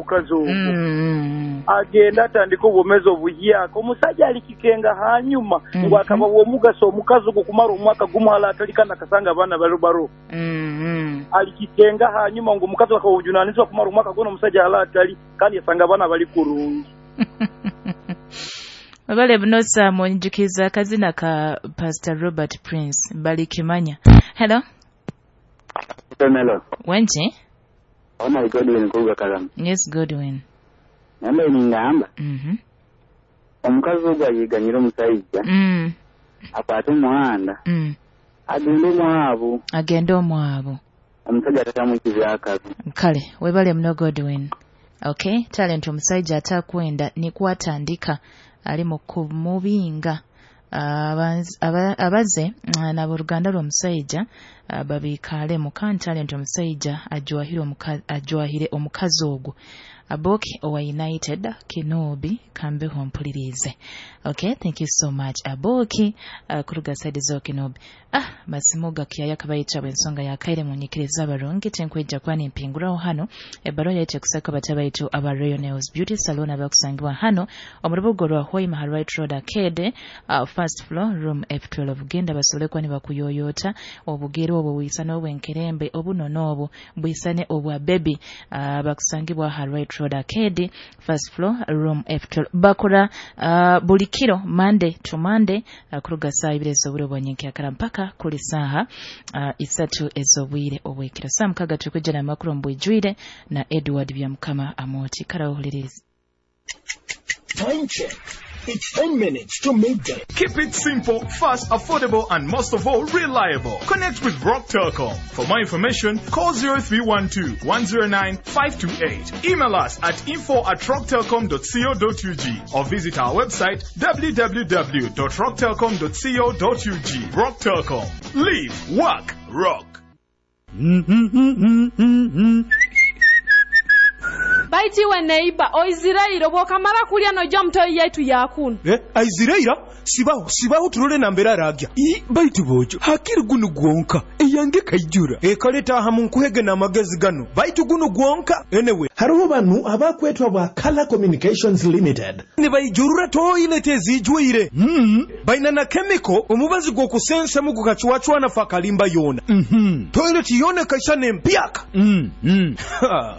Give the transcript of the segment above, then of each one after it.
omukazi ogwo. Agenda atandika obwomeezi obuhyaka. Omusajja alikikenga hanyuma ngu akaba w'omugaso omukazi ogwo kumara omwaka gumu hala atali kandi akasanga abaana bali baroho. Alikikenga hanyuma ngu omukazi akaba obujunanizibwa kumara omwaka gwona omusajja hala atali kandi yasanga abaana bali kurungi. Webale muno Sam, onyijukiza akazina ka Pastor Robert Prince balikimanya. Hello. Hello. Wenki? Oh my Godwin kuruga Karama. Yes, Godwin. Nambe ningamba. Omukazi ogwo ayiganyira omusajja. Akwate omuhanda. Agende omwabo. Agende omwabo. Omusajja atatamwikiza akabi. Kale, webale muno Godwin. Okay, talent omusajja atakwenda nikwatandika ali mu kumubinga abaze n'aboluganda lw'omusajja babikalemu kandi talent omusajja ajwahire omukazi ogwo. Aboki owa United Kinobi kambeho mpulirize. Okay, thank you so much Aboki kuruga side zo Kinobi. Masimu gakyaya kabayita ensonga ya kaire munyikiriza abarungi tenkwijja kwani mpinguraho hano ebbaluwa yaitu ekusaka batabayito aba Royal Nails Beauty Salon abakusangibwa hano omu rubuga rwa Hoima Right Road Arcade, first floor room F12. Genda basobole kuba nibakuyoyota obugere obwo bwisane obwenkerembe obunono obwo bwisane obwa baby, bakusangibwa ha Right Road Arcade, first floor room F12. Bakora buli kiro Monday to Monday, kuruga saa ibiri ez'obwire obwanyenkyakara mpaka kuli saaha 3 ez'obwire obwekiro. Saa 6 tukujja n'amakuru mbwijwire na Edward Byamukama Amoti. Karawuliriza. Time check. It's 10 minutes to midday. Keep it simple, fast, affordable, and most of all, reliable. Connect with Rock Telcom. For more information, call 0312 109 528. Email us at info@rocktelcom.co.ug or visit our website www.rocktelcom.co.ug. Rock Telcom. Live, work, rock. Baitiwe neiba oizirairo bwokamara kulya nojja mutoyi yaitu yakunu. Aiziraira sibaho turole nambera aragya. Baitu bojo hakiri gunu gwonka eyange kaijura. Ekaleta aha munkuhege n'amagezi gano. Baitu gunu gwonka enewe. Hariho banu abakwetwa bwa Color Communications Limited. Nibayijurura toilet ezijwire. Baina na chemical omubazi gw'okusensa mu gukachwachwana fakalimba yona. Toilet yona kaisane empyaka.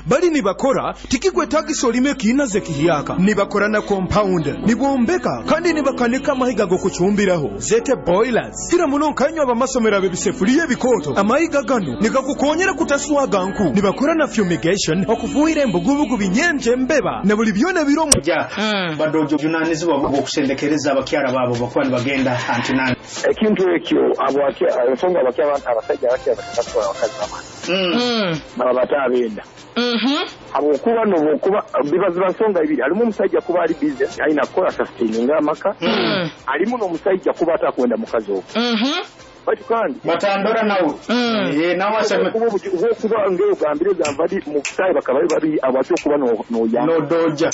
Bali nibakora tikikwetagisa olime kiinaze kihiyaka. Nibakora na compound, nibombeka kandi nibakanika amahiga gokuchumbiraho zete boilers. Kira muno nkanywa abamasomero ab'ebisefuriya ebikooto. Amahiga gano nigakukonyera kutaswaga nku. Nibakora na fumigation okufuhira embugubugu binyenje embeba na buli byona biromu. Ja badojo junanizibwa bw'okusendekereza abakyala baabo bakuba nibagenda antinani. Ekintu ekyo ensonga abasajja abakya bakatwala abakazi bamani. Baba abenda. Habwokuba nokuba bibaziba nsonga ibiri. Alimu omusajja kuba ali busy alina kukola sustaining amaka. Alimu n'omusajja kuba atakwenda mukazi ogwo. Baitu kandi batandora nawe. Nawe aseme kuba ngeo gambire gambadi mu kusai bakaba bari abatyo kuba no ya no doja.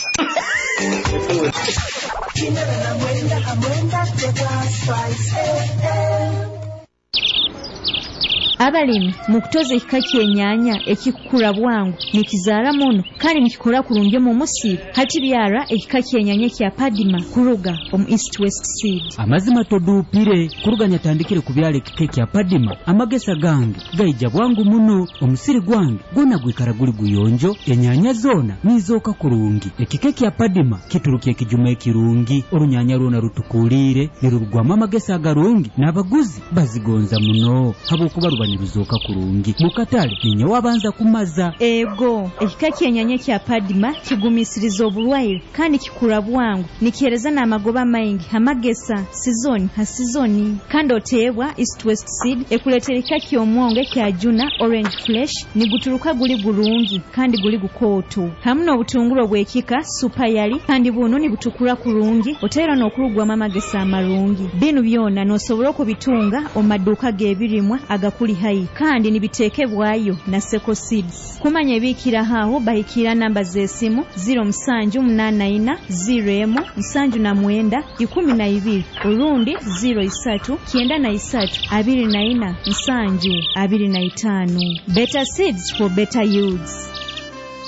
Abalimi mukutoza ekika ky'ennyanya ekikukura bwangu nikizaara muno kandi nikikora kurungi omu musiri. Hati byara ekika ky'ennyanya kya Padima kuruga omu East West Seed. Amazima toduupire kuruga nyatandikire kubyala ekika kya Padima. Amagesa gange gaija bwangu muno, omusiri gwange gwona gwikara guli guyonjo, ennyanya zoona nizooka kurungi. Ekika kya Padima kituruka ekijuma ekirungi, orunyanya rwona rutukuliire nirurugwamu amagesa agarungi n'abaguzi bazigonza muno habwokuba ruba niruzoka kurungi. Mukatale ninye wabanza kumaza. Ego ekika ky'ennyanya kya Padima kigumisiriza oburwaire kandi kikura bwangu, nikihereza n'amagoba maingi amagesa sizoni ha sizoni. Kandi oteebwa East West Seed ekuleetera ekika ky'omwongo ekya Juna Orange Flesh niguturuka guli gurungi kandi guli gukooto, hamu n'obutunguru obw'ekika Super Yali kandi buno nibutukura kurungi oteera n'okurugwamu amagesa amarungi. Binu byona n'osobola okubitunga omu maduuka g'ebirimwa agakuli hai kandi nibitekebwayo na Seko Seeds. Kumanya ebikira aho bahikira namba z'esimu 0784 01 79 12 urundi 03 93 24 7 25. Better seeds for better yields.